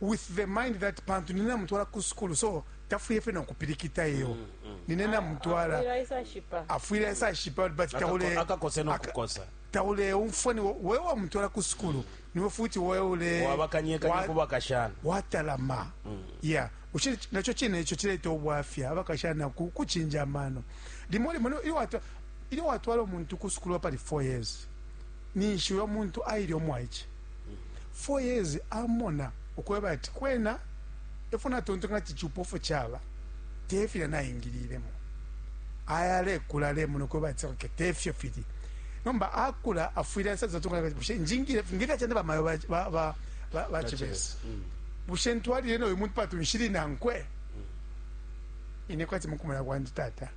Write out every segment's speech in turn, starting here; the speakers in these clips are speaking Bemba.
With the mind that pantu nine namutwala ku sukulu, so tafwile fye nokupilikita iyo. Nine namutwala. Afwile aisashipa. Afwile aisashipa, but taule Akakose no kukosa. Tauleumfwa ni wewe wamutwala ku sukulu, niwe futi wewe ule wabakanyekanya kubakashana. Watalama. Yeah, ushe nacho chine icho chileta ubwafya abakashana kuchinja amano limo limo. Ilyo watwala umuntu ku sukulu pali 4 years, ninshi uyo muntu aile omwaiche 4 years, amona ukweba ati kwena efo natontonkanya ati chupofu chaba tefilya naingililemo. Aya alekula, alemona ukweba ati okay, tefyo fili. Nomba akula, afwile asazatontonkanya, bushe njingile ngilya chande bamayo ba chibesi, bushe ntwalile noyu muntu patu nshili nankwe? Ine kwati mukumona kwandi, tata,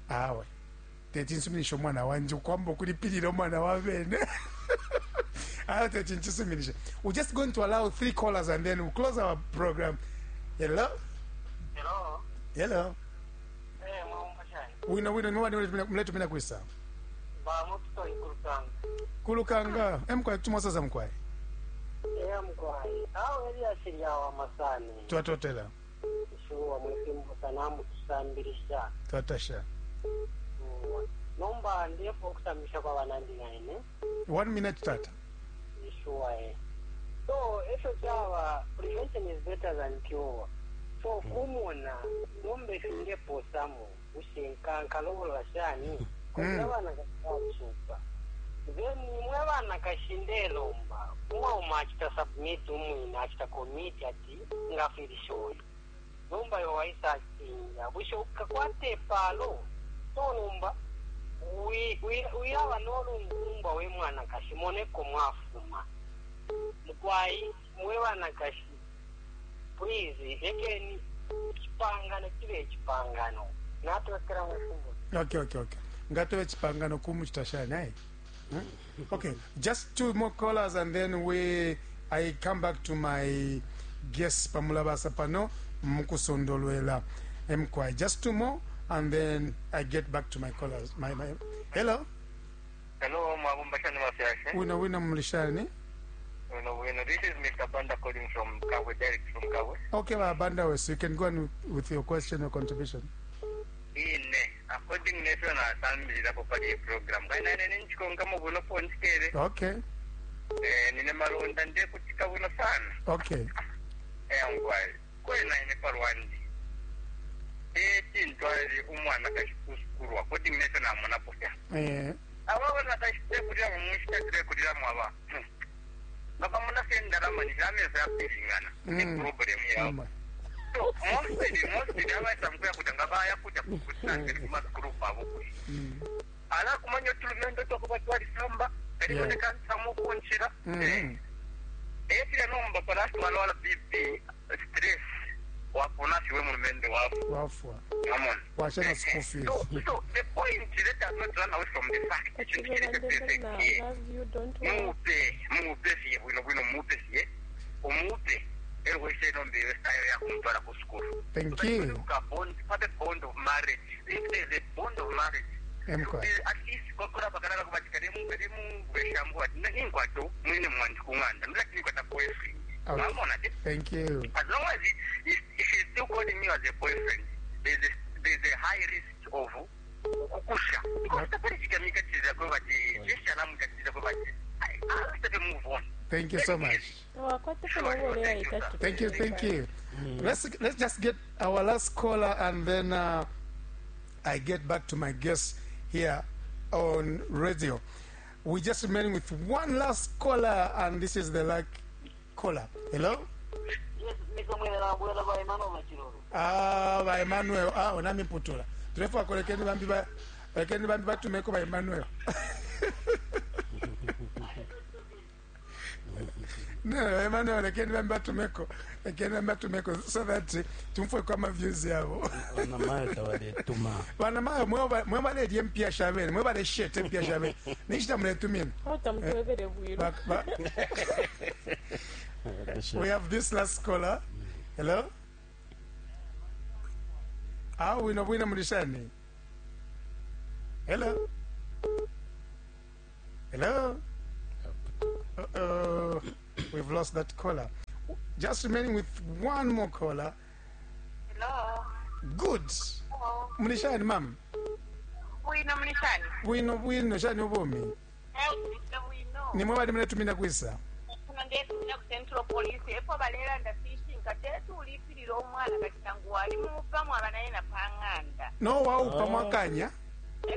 awe teti nsuminisha umwana wanje ukwamba ukulipilila umwana wa bene. Awe teti nchisuminisha. We're just going to allow three callers and then we'll close our program. Hello? Hello. Hello. Eh, mwambo shani? Wino wino. Niwani mletumina kwisa? Ba mututo ikulukanga. Kulukanga emkwai tumwasaza mkwai. Eh, mkwai. Awo Elias lyawa masane. Twatotela. Shuwa mwifimbo sanamu tusambilisha. Twatasha. Nomba ndipo okusambisha kwa banandi naine. One minute, tata. Shuwa eh. So, efyo chaba, prevention is better than cure. So, kumona nomba ifingeposamo ushe nkalobolola shani abana kasasupa, then imwe abana kashindelomba umwauma achita submit, umwine achita commit ati ngafilisha uyu, nomba yo waisa achinja, bushe ukakwata epalo? So nomba uyaba nolungumbwa we mwana kashi moneko mwafuma mukwai. Mwe bana kashi, please lekeni chipangano chibe chipangano. Natwekera mwefumbo. Okay, ngatove chipangano kumuchita shani ai? Okay, just two more callers and then we I come back to my guests pamulabasa pano mukusondolwela mkwai. Just two more and then I get back to my callers. My hello. Hello, mwabumba shani mafyashe? Wina wina, mulishani? Wino wino. This is Mr. Banda calling from Kabwe, Derek from Kabwe. Okay, Banda, so you can go on with your question or contribution. Ine, according nefyo nasambilirapo pali program. Kaina nene nchikonka buno ponchikere. Eh, nine malonda ndiye kutika buno sana. Eh, ngwai. Kwena ine palwandi. Eh, tintwali umwana kashikusukulwa. According nefyo namonapo fya. Aba bana kashitekulira mu mushita tulekulira mwaba. Nga pamona fye ndalama ni ameza yapilingana. Ni problem yabo. So mostly abaisa mkuya kuja nga baya kuja kukutangira kumasukulu kwabo kwe. Ala kumanya otulumendo twakuba twalisamba eriboneka nsamu kunshira. Efira nomba palasi walwala BP, stress, wapona siwe mulumendo wafu. Wafwa. Amon. Washana school fees. So the point, let us not run away from the fact. Ekintu kiri perfect here. Love you, don't worry. Mupe mupe siye bwino bwino, mupe siye umupe erwese nombe style yakumutwala ku sukulu. Thank you. Bond, pabe bond of marriage. If there's a bond of marriage, Mkwai. at least kokola bakalala kubatika lemubweshambu ati ninkwato mwine mwandi kung'anda ndilati nikwata boyfriend. Mwamona ti Thank you. As long as he, she's still calling me as a boyfriend, there's a high risk of kukusha because tapali chikamika chiza kwe bati chishanamuka chiza kwe bati I have to move on. Thank you so much. Wakwate kulobole itatu. Thank you, thank you. Let's just get our last caller and then I get back to my guests here on radio. We just remaining with one last caller, and this is the luck caller. Hello? Yes, Mr. Mwene Bwela ba Emmanuel Machiroro. Ah, ba Emmanuel. Ah, onami putula. Tulefa kolekeni bambi ba lekeni bambi batumeko ba Emmanuel. No, Emmanuel, lekeni bambi batumeko. Lekeni bambi batumeko so that tumfwe kwa ma views yabo. Vanamayo tabaletuma. Vanamayo mwe balelya empya shabene, mwe balesheta empya shabene. Nishita muletumina. Otamutwebere bwiro. We have this last caller. Hello? Ah, wino bwino, mulishani? Hello? Hello? Uh-oh. We've lost that caller. Just remaining with one more caller. Hello. Good. Muli shani ma'am? Bwino muli shani? Bwino bwino shani ubumi? Eh, bwino. Nimwe bali muletumina kwisa? Kuno ndetumina ku Central Police epo balelanda fishinka tetu ulipilila omwana kati nangu wali mupa mwaba naye na pang'anda. No waupa mwakanya?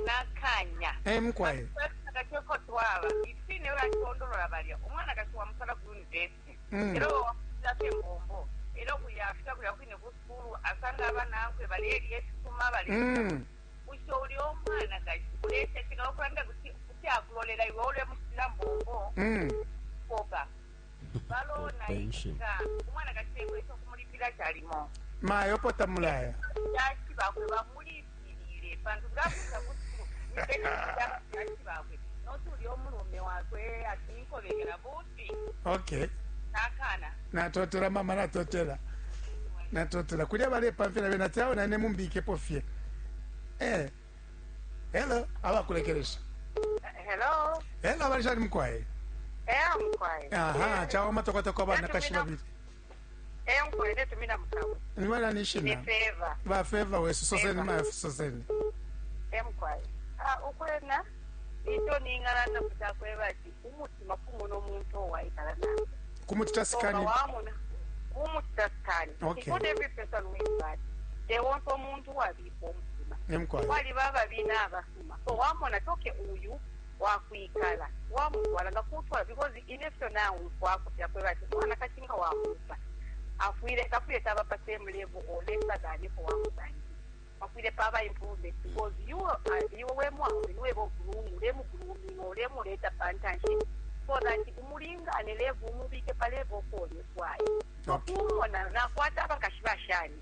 Nakanya. Eh mkwaye. Kateko twaba ifine batondolola balya omwana kati wamusala ku university. Era wamusala embombo. Era kuyafika kuya kwine ku sukulu asanga abanankwe balelya ekisuma balelya. Usho uli omwana kati uletekinga okulanda kuti akulolela iwe olemusira mbombo. Poka. Balona ika omwana kati ekwesa okumulipira kyalimo. Mayo pota mulaya. Yaki bakwe bamulipirire pantu ngakusa ku yaki bakwe notuli omulume wakwe atinkobekera buti. Okay. Nakana. Natotela mama natotela. Natotela kulya balepamfira bena tawo nane mumbikepo fye. Eh. Hello, abakulekeresha. Hello. Hello abalishani mkwaye. Eh mkwaye. Aha, chawo matokota kwa bana kashiba bili. Eh mkwaye netumina mkawe. Niwala nishina. Ni favor. Ba favor wesu soseni ma soseni. Eh mkwaye. Ah ukwena ito ningana kutakweba ati umutima kumuno omuntu owaikala nawe. Kumutita sikani. Kumutita sikani. Okay. Not every person wins that. They want omuntu wabipa omutima. Nemkwaye. Wali baba bina abasuma. So wamona toke uyu wakwikala wamutwala nga kutwala because inefyo nawe kwakuyakweba ati mwana kakinga wamupa. Afwire kafwire taba pa same level or lesser than if wamusangi. Afwire paba improvement because you iwe we mwawe niwe bo groom lemu grooming or lemu leta pantanshi so that umulinga ane level umubike pa level kole kwaye. Okay. Kumona nakwata abakashibashani.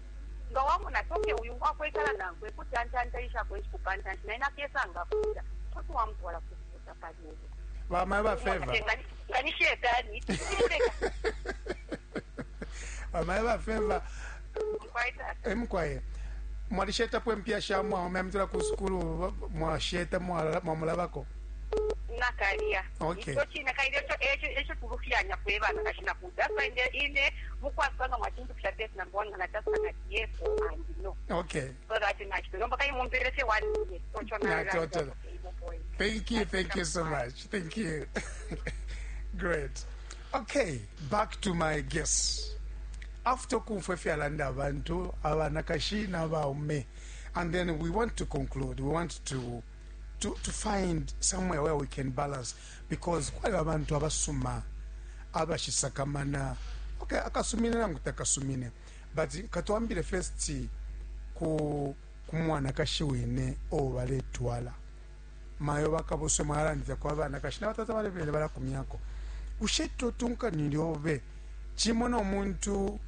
Nga wamona toke uyu wakwekala nankwe kuti antantaisha kwenshi kupantanshi naye nakesanga kuta. Kuti wamutwala kufuta palevo. Bama ba favor. Ngani shetani. Bama ba favor. Mkwaye. Mkwaye. Mwalisheta pwe mpya shamwa omemtula ku sukulu mwasheta mwamulabako. Nakalia. Okay. Icho china kaile cho echo echo tulufyanya kwebana kashina kuda. That's why ine mukwasanga mwachintu kusha test number 1 na test na yes and no. Okay. So that in nomba kai mumpelese 1 year. So chona. Na total. Thank you, thank you so much. Thank you. Great. Okay, back to my guests. After kumfwefyalanda abantu abanakashi n'abaume, and then we want to conclude. We want to find somewhere where we can balance because kwali abantu abasuma abashisakamana. Okay, akasumine nangu takasumine. But katwambile first ku kumwana kashiwine obaletwala. Mayo bakabuswe mwalandira kwa bana kashina batata balebele balakumyako. Usheto tunka nilyobe chimono omuntu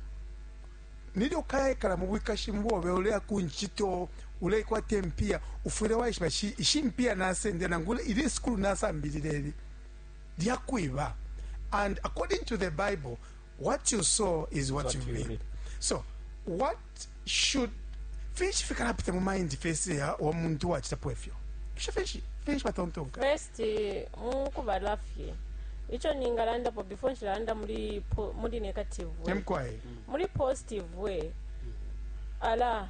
nilyo kayekala mu bwikashi mbobe ule kunchito ule kwate mpia ufure waishiba ishimpia nasende nangule ili school nasambilile lyakwiba. And according to the Bible, what you sow is what you reap. So what should fish fikalapita mu mind face ya omuntu wachitapo efyo? Fish fish batontonka. First mukubalafye. Icho ningalanda po before nshilanda muri muri negative way. Mkwaye. Muri positive way. Ala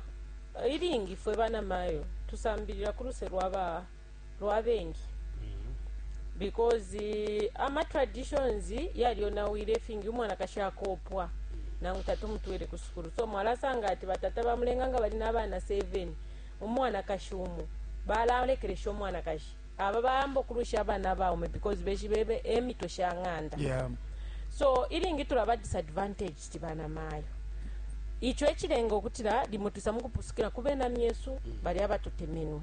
ilingi fwe bana mayo tusambilira kuruse rwaba rwabengi. Because ama traditions yaliyo nawire fingi umwana kashakopwa nangu tatu mutwere kusukuru. So mwalasanga ati batata bamulenga nga bali n'abaana 7 umwana kashumu balalekeresha omwana kashi aba bayamba okurusha abaana baume because beshi bebe emitwe shang'anda. Yeah. So ilingi tulaba disadvantage bana mayo icho echilenga okutira limutusa mukupusukira kube na myesu bali abatutemenwe.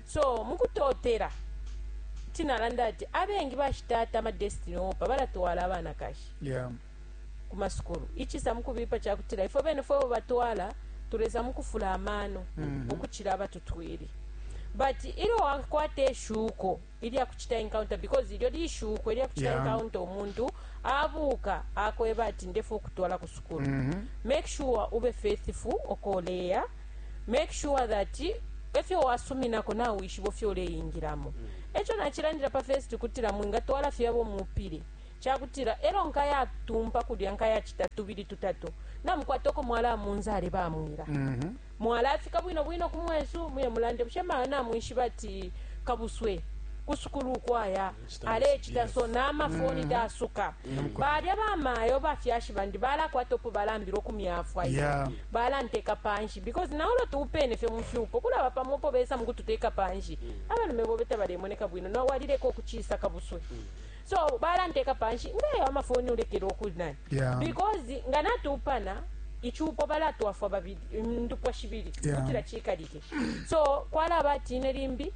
So mukutotera tinalanda ati abengi bashitata ama destiny opa balatwala abaana kashi. Yeah. Kumasukuru ichisa mukubipa chakutira ifo bene fo batwala tureza mukufula amano okuchira abatutwire. But ilo wakwate eshuko ili akuchita encounter because ilyo lishuko ili akuchita encounter omuntu abuka akweba ati ndefu okutwala ku sukulu. Make sure ube faithful okoleya. Make sure that efyo wasuminako nawe wishibo fyoleyingiramo. Echo nachilandira pa first kutira mwinga twala fyabo mupire. Cakutila elo nkayatumpa kulya nkayacita tubili tutatu namukwata uko mwalamunzale bamwila. Mwalafika bwino bwino ku mwesu muye mulande bushe mayo namwishiba ati kabuswe kusukulu ukwaya alecita so namafoni tasuka. Balya bamayo bafyashi bandi balakwata upo balambila ukumyafwa Yeah. Balanteka panshi because naulo tuupene fye mufyupo kulaba pamopo besa mukututeka panshi abalume bobe tabalemoneka bwino nawalileka okuchisa kabuswe so balanteka panshi ngayo amafoni ulekele okunani Yeah. because nga natuupana ichupo balatwafwa babili ndupwa shibili Yeah. kutila chikalike so kwalaba atine limbi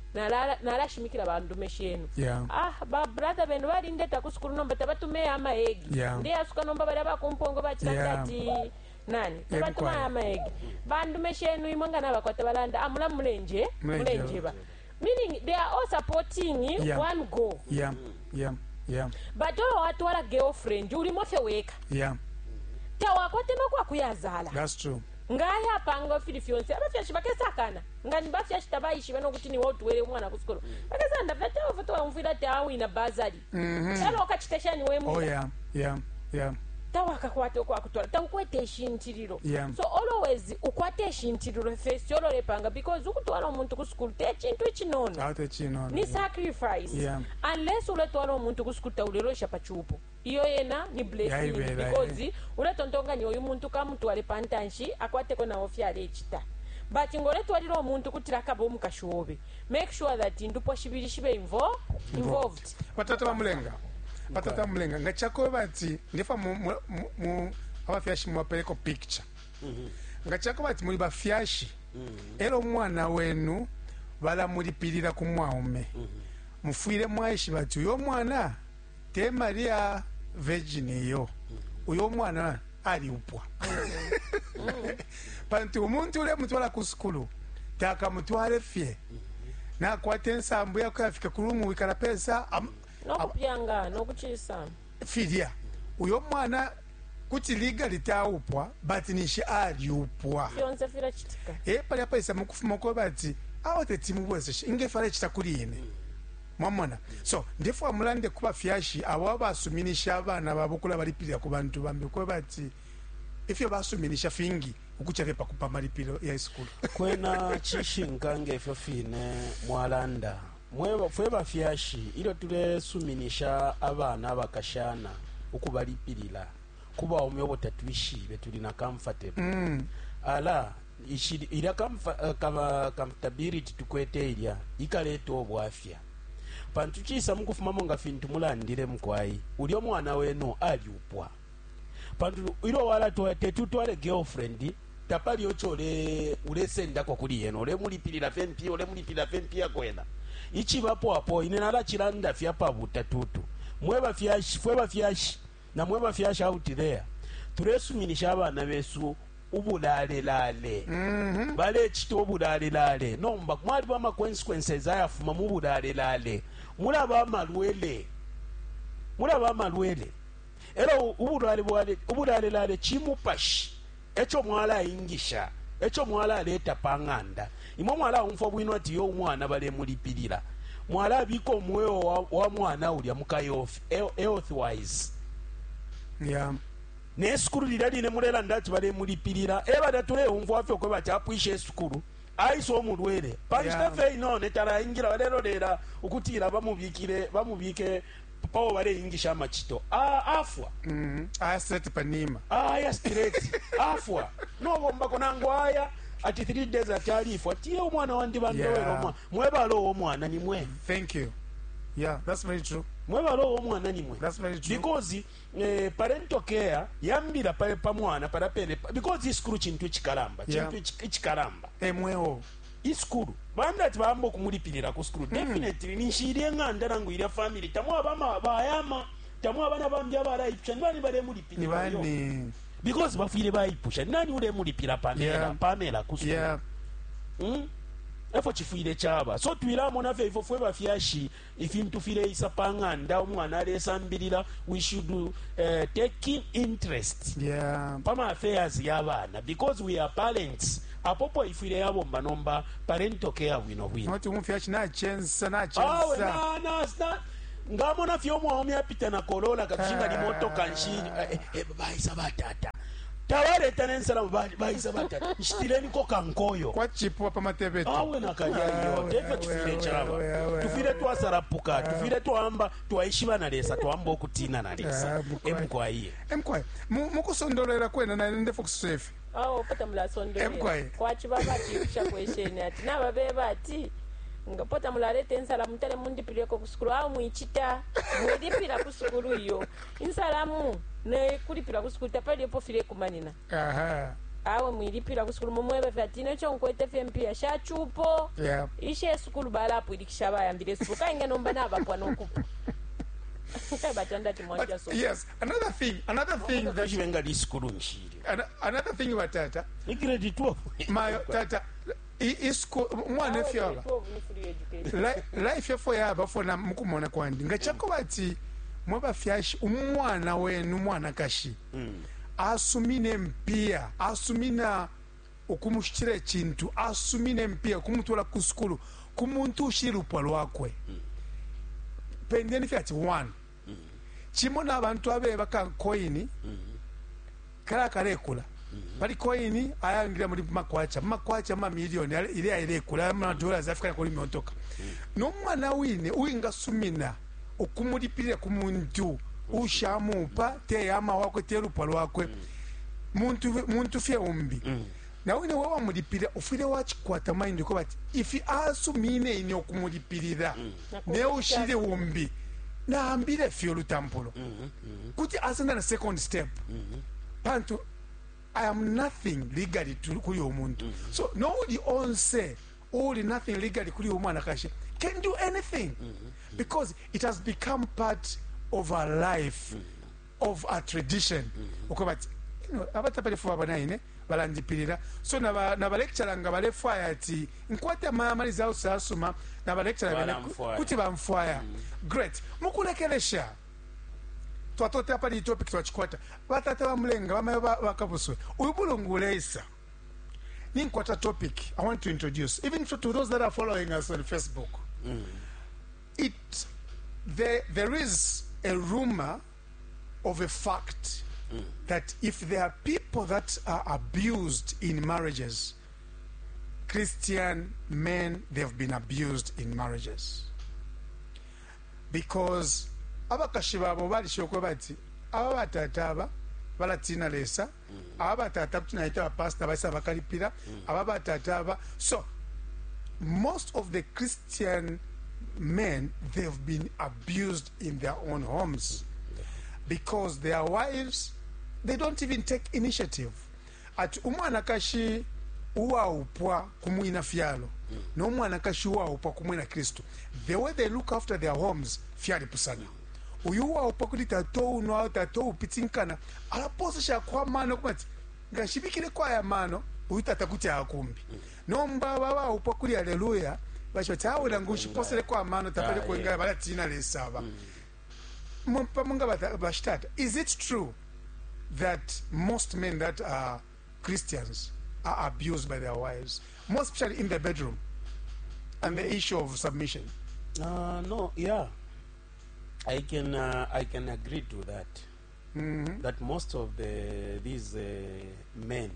nalashimikila bandume shenu Yeah. ah ba brother benu balindeta kusukulu nomba tabatumeyo amaegi Yeah. ndeyasuka nomba balya bakumpongo bachilanda Yeah. ati nani tabatuma Ebikwaya. amaegi bandume shenu imwe nga nabakwata balanda amula mulenje Mulenje. mulenjeba meaning they are all supporting Yeah. one goal Yeah. But oyo watwala girlfriend ulimo fye weka Yeah. tawakwate nokwakuyazala That's true. Ngayapanga fili fyonse abafyashi bakesakana nga nibafyashi tabaishiba nokuti niwe utwele umwana kusukulu bakesanda fyatawafo ati awina bazali elo okachita shani Oh wemwina yeah. Tawakakwata okwakutwala taukwete eshintililo. Yeah. So always ukwate eshintililo fesi ololepanga because ukutwala omuntu kusukulu te chintu echinono Ate chino. ni sacrifice. Yeah. Unless uletwala omuntu kusukulu taulelosha pachupo iyo yena ni blessing Yaibera, because uletontonganya oyu muntu kamutwale pantanshi akwateko nawo fyalechita but ngoletwalira omuntu kutira akaba omukashi wobe make sure that ndupwa shibili shibe involved. Batata bamulenga. Batata bamulenga. Ngachako bati ndifa mu, mu, mu abafyashi mwapereko picture. Ngachako bati muli bafyashi. Elo umwana wenu balamulipilira ku mwaume. Mufwire mwaishi bati uyo mwana te Maria Virgin iyo. Uyo mwana aliupwa. Pantu umuntu ule mutwala ku sukulu takamutwale fye nakwata ensambu yakuyafika ku rumu wikala pesa nokupyanga nokuchisa filya uyo mwana kuti legally taupwa but nishi aliupwa. Fyonse filachitika. E palya paisa mukufuma ko bati awo tetimubwezeshe ingefe alecita kuli ine mwamona so ndifwa mulande kuba fyashi abo abasuminisha abana babo kula balipilira ku bantu bambi ko bati ifyo basuminisha fingi ukucha fye pakupa malipiro ya isukulu. Kwena chishinka ngefyo fine mwalanda mweba fwe bafyashi ilyo tulesuminisha abana abakashana ukubalipilila kubaume obo tatwishibe tuli na comfortable ala ishi- ilya comfortability tukwete ilya ikaleta obwafya pantu chisa mukufumamo nga fintu mulandile mukwai ulyo mwana wenu aliupwa pantu ilo wala tetutwale girlfriend tapali ocho ule ulesendako kuli yena ulemulipilira fye mpiya ulemulipilira fye mpiya kwena ichibapo apo ine nalachilanda fya pabuta tutu mwe bafyashi fwe bafyashi na mwe bafyashi out there tulesuminisha abana besu ubulalelale balechita ubulalelale nomba mwaliba ama consequences ayafuma mu bulalelale mulaba amalwele mulaba amalwele ero ubulwale bwale ubulalelale chimupashi echo mwalaingisha echo mwalaleta pang'anda imwe mwalaumfwa bwino ati yo umwana balemulipilira mwalabika omwoyo wa, wa mwana ulya mukayofi health wise Nesukulu lilya line mulelanda ati balemulipilira ebada tuleumfwa fye okwe bati apwisha esukulu aisa omulwele panshita fye inone talaingira balelolera ukutila bamubikile bamubike pawo baleingisha amachito afwa. Aya straight panima. Aya straight afwa nobombako nangu aya ati 3 days ati alifwa tiye omwana wandi bandowera omwana mwebala omwana nimwe. Thank you. Yeah, that's very true. Mwebala omwana nimwe. That's very true. Because parental care yambira pa pa mwana parapene because isukulu chintu ichikalamba chintu ichikalamba. Emwewo. Isukulu banda ati bamba okumulipirira ku sukulu definitely ninshiri eng'anda nangu ilya family tamwabama bayama tamwe abana bambi abarayipusha nibani Ni balemulipirira yo bani? Because bafwire bayipusha nani ulemulipira Pamela Pamela ku sukulu Efo chifwire chaba so twilamo naffe ifo fwe bafyashi ifintu fileisa pang'anda omwana alesambilira we should take in interest pama affairs y'abaana because we are parents apopo ifwire yabomba nomba parental care bwino bwino. Noti umufyashi nachensa awe nachensa. na, na, na. Ngamona fye umwaume apita na Corolla katushinga limotoka nshi eh, eh, baisa batata tabaleta nensalamu baisa batata nshitileniko kankoyo. Kwachipwa pamatebeto. Awe nakalya iyo tefyo tufile chaba tufile twasarapuka tufile twamba twaishiba na Lesa twamba okutina na Lesa. Ah, mukwai. Emukwaye. Emkwai, mukusondolera kwena na ndefa kusefi. Awo pota mulasondolera. Emkwai. Kwachiba bachipusha kwesheni ati nababeba ati nga pota mulaleta ensalamu tale mundipileko kusukulu awo mwichita mwilipira kusukulu iyo insalamu nekulipira kusukulu tapalipo file kumanina. Aha. Awe mwilipira kusukulu mumwebe fye ati necho nkwete fye mpiya shachupo. Ishe esukulu balapwilikisha bayambile esukulu kainge nomba nabapwa nokupa batanda ti mwanja. But So yes, another thing that kashibenga lisukulu nshili. Another thing batata Ni grade 12. Mayo tata isku umwana efyaba life yafo yaba fona mukumona kwandi nga chako bati mwe bafyashi umwana wenu mwanakashi asumine mpia asumina ukumushitira ekintu asumine mpia kumutwala ku sukulu ku muntu ushiri lupwa lwakwe pendeni fye ati one chimo n'abantu abeba ka coin kala kalekula pali coin ayangira muri makwacha makwacha mamiliyoni ile ailekula ama dollars afika kuli miontoka n'omwana wine uwingasumina okumulipirira ku muntu ushamupa teyama wakwe telupwa lwakwe muntu muntu fye umbi na wine we wamulipirira ufwile wachikwata mind ko bati ifi asumine ine okumulipirira ne ushiri umbi naambile fye olutampulo kuti asenda na second step pantu I am nothing legally to kuli omuntu. So nobody onse uli nothing legally kuli omwana can do anything because it has become part of our life, of our tradition. Okay, but abatapali fuba banaine balandipirira so naba naba lecturer nga balefwaya ati nkwate amamaliza usasuma naba lecturer bene Balamfwaya. kuti bamfwaya. Great, mukulekelesha twatotela pali topic twachikwata batata bamulenga bamayo bakabuswe uyu bulungu uleisa ninkwata topic I want to introduce even to those that are following us on Facebook. It there, there is a rumor of a fact that if there are people that are abused in marriages, Christian men, they've been abused in marriages because abakashi babo balishoka bati aba batata aba balatina Lesa aba batata kuti naita bapasita baisa bakalipira aba batata aba. So most of the Christian men, they've been abused in their own homes because their wives, they don't even take initiative ati umwanakashi uwaupwa kumwina fyalo n'omwanakashi uwaupwa kumwina Kristu, the way they look after their homes fyalipusana. Uyu uwaupwa kuti tato uno tato upitinkana alaposesha kwa mano kumati ngashibikire aya mano uyu tata kuti akumbi nomba babaupwa kuli haleluya bashoti awe nangu ushiposeleko amano tapali Ah, kwenga balatina Lesaba pamunga bashitata. Is it true that most men that are Christians are abused by their wives, more especially in the bedroom and the issue of submission? No, yeah, I can agree to that. That most of these men,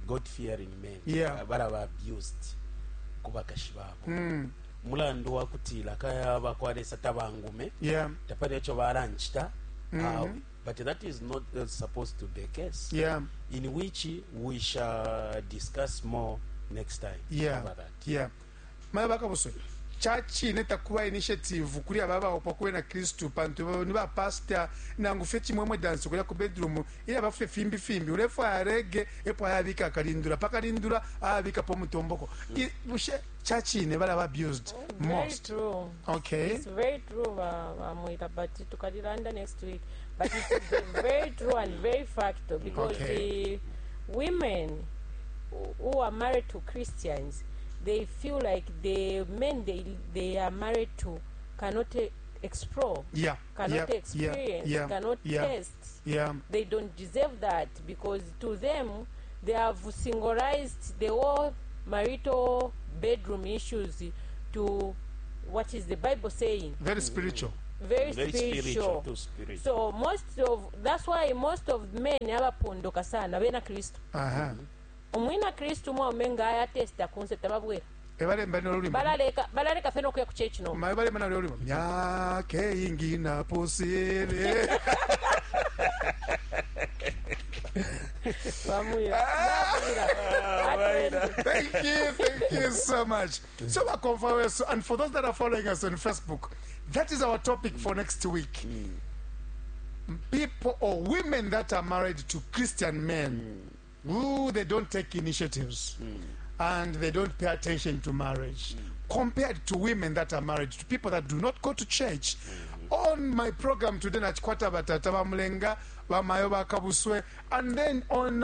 God-fearing men, baraba abused kubakashi babo. Mulandu wa kutila kaya bakwalesa tabangume tapali echo baranchita awe. But that is not supposed to be the case. In which we shall discuss more next time about that. Yeah, maya bakabuswe chachine takuba initiative kuri aba baopa kuwe na Kristu pantu ni ba pastor nangu fye chimwemwe dance kuya ku bedroom ila bafye fimbi fimbi ulefu arege epo ayabika akalindula pakalindula ayabika po mutomboko. Bushe chachine bala abused Very most? true. It's very true, Mwita, but tukalilanda next week. But it's very true and very fact because the women who are married to Christians, they feel like the men they are married to cannot explore, cannot experience, cannot test. They don't deserve that because to them they have singularized the whole marital bedroom issues to What is the Bible saying? Very spiritual. Very, Very spiritual. spiritual, too spiritual. So most of that's why most of men abapondoka sana bena Kristu. Aha. Umwina Kristu mwaume nga ayatesta kunse tababwera. Ebalemba n'olulimi. Balaleka balaleka fena okuya ku church no. Ma ebalemba n'olulimi. Myaka ingi naposire. Bamuya. Bamuya. Thank you so much. So, bakomfa and for those that are following us on Facebook, that is our topic for next week. People or women that are married to Christian men, who they don't take initiatives and they don't pay attention to marriage, compared to women that are married to people that do not go to church. On my program today, nachikwata batata bamulenga, bamayo bakabuswe, and then on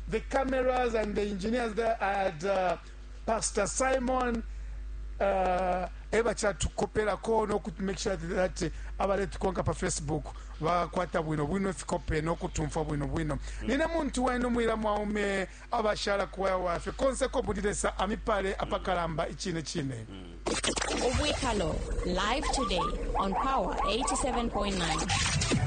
the cameras and the engineers there, I had Pastor Simon ebakyatukoperako noku make sure that abaletukonka pa Facebook bakwata bwino bwino ifikope nokutumfa bwino bwino. Nina muntu wenu mwira mwaume abashala kuwaya wafe konseko budilesa amipale apakalamba ichine chine. Ubwikalo, live today on Power 87.9.